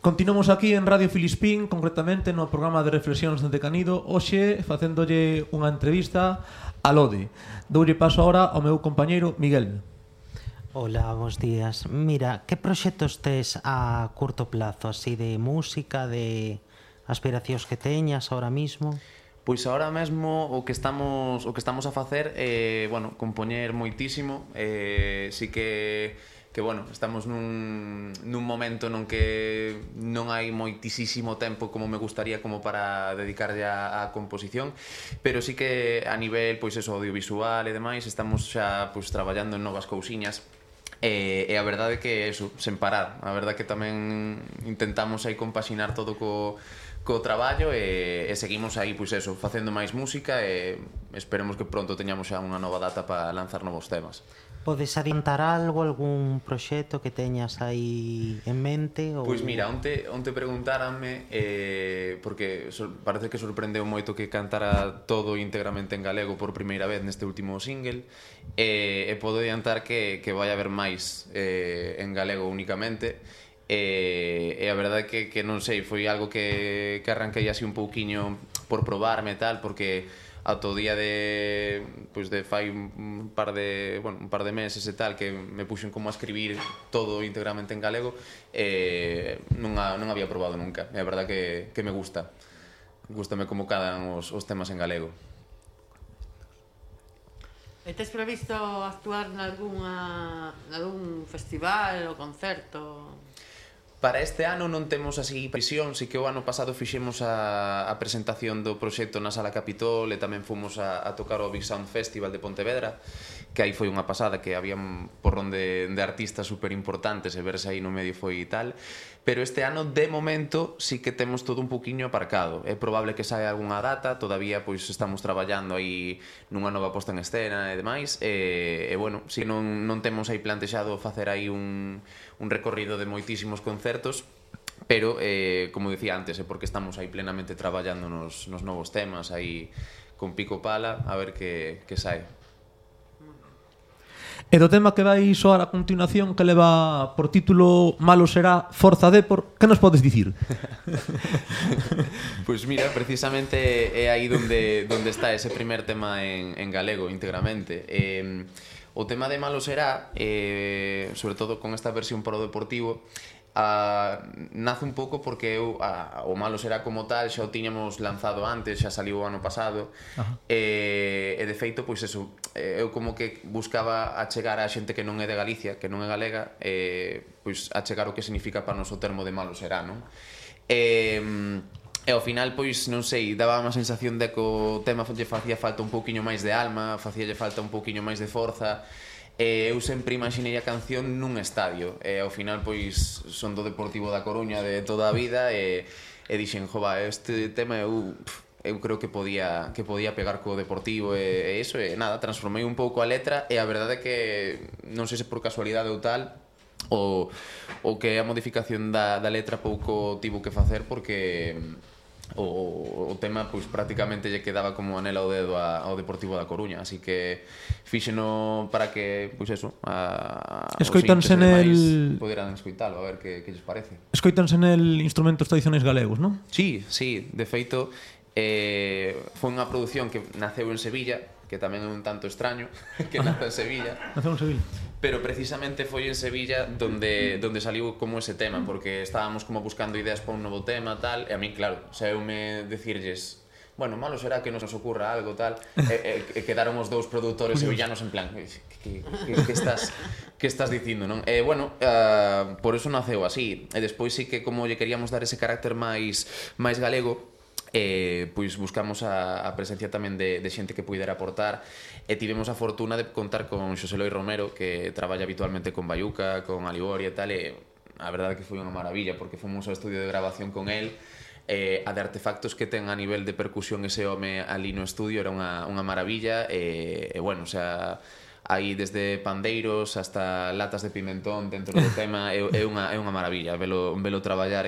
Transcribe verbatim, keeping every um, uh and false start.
Continuamos aquí en Radio Filispín, concretamente no programa de reflexións de Canido, hoxe facéndolle unha entrevista a Lode. Doulle paso agora ao meu compañeiro Miguel. Hola, bons días. Mira, que proxectos tes a curto plazo, así de música, de aspiracións que teñas ahora mismo? Pois agora mesmo o que estamos o que estamos a facer é, eh, bueno, compoñer moitísimo, eh, si que que bueno, estamos nun, nun momento non que non hai moitísimo tempo como me gustaría como para dedicarlle a, a composición, pero sí que a nivel, pois eso, audiovisual e demais, estamos xa pois traballando en novas cousiñas. E, e a verdade é que eso, sen parar, a verdade é que tamén intentamos aí compaxinar todo co, co traballo e, e seguimos aí, pois eso, facendo máis música e esperemos que pronto teñamos xa unha nova data para lanzar novos temas. Podes adiantar algo, algún proxecto que teñas aí en mente? Ou... Pois mira, onte, onte preguntáranme, eh, porque so, parece que sorprendeu moito que cantara todo íntegramente en galego por primeira vez neste último single, e, e podo adiantar que, que vai haber máis eh, en galego únicamente, e, e a verdade é que, que non sei, foi algo que, que arranquei así un pouquiño por probarme e tal, porque ata o día de pois de fai un par de, bueno, un par de meses e tal que me puxen como a escribir todo íntegramente en galego e non, a, non había probado nunca. É a verdade que, que me gusta. Gústame como cadan os, os temas en galego. E tes previsto actuar nalgúna, nalgún festival ou concerto? Para este ano non temos así prisión, si que o ano pasado fixemos a, a presentación do proxecto na Sala Capitol e tamén fomos a, a tocar o Big Sound Festival de Pontevedra, que aí foi unha pasada, que había un porrón de, de artistas super importantes e verse aí no medio foi tal, pero este ano de momento sí que temos todo un poquinho aparcado. É probable que saia algunha data, todavía pois estamos traballando aí nunha nova posta en escena e demais, e, e bueno, si non, non temos aí plantexado facer aí un, un recorrido de moitísimos concertos, pero, eh, como dicía antes, é porque estamos aí plenamente traballando nos, nos novos temas, aí con pico pala, a ver que, que sae. E do tema que vai soar a continuación, que leva por título Malo será Forza Depor, que nos podes dicir? Pois pues mira, precisamente é aí donde, donde está ese primer tema en, en galego íntegramente. Eh, o tema de Malo será, eh, sobre todo con esta versión para o deportivo, Uh, nace un pouco porque eu, uh, o Malo será como tal xa o tiñamos lanzado antes, xa saliu o ano pasado. e, e de feito, pois eso, eu como que buscaba achegar a xente que non é de Galicia, que non é galega, e, pois achegar o que significa para nos o termo de Malo será, non? E, e ao final, pois, non sei, daba unha sensación de que o tema lle facía falta un pouquiño máis de alma, facíalle falta un pouquiño máis de forza. E eu sempre imaginei a canción nun estadio e ao final pois son do Deportivo da Coruña de toda a vida e, e dixen, jova, este tema eu, eu creo que podía, que podía pegar co Deportivo e, e iso, e nada, transformei un pouco a letra e a verdade é que non sei se por casualidade ou tal ou, ou que a modificación da, da letra pouco tivo que facer porque o, o tema pois prácticamente lle quedaba como anela ao dedo a, ao Deportivo da Coruña, así que fíxeno para que, pois eso, a, escoitanse nel poderan escoitalo, a ver que, que lles parece. Escoitanse nel instrumentos tradicionais galegos, non? Sí, sí, de feito eh, foi unha produción que naceu en Sevilla, que tamén é un tanto extraño que nace en Sevilla. Naceu en Sevilla. Pero precisamente foi en Sevilla donde, donde saliu como ese tema, porque estábamos como buscando ideas para un novo tema, tal, e a mí, claro, saeume decirlles, bueno, malo será que nos ocurra algo, tal, e, e, e quedaron os dous produtores sevillanos en plan, que, que, que, que, estás, que estás dicindo, non? E, bueno, uh, por eso naceu así, e despois sí que como lle queríamos dar ese carácter máis, máis galego, eh, pois buscamos a, a presencia tamén de, de xente que puidera aportar e tivemos a fortuna de contar con Xosé Loi Romero, que traballa habitualmente con Bayuca, con Aliboria e tal, e a verdade que foi unha maravilla porque fomos ao estudio de grabación con el, eh, a de artefactos que ten a nivel de percusión ese home ali no estudio era unha, unha maravilla e, e bueno, o sea, hai desde pandeiros hasta latas de pimentón dentro do tema, é, é, unha, é unha maravilla velo, velo traballar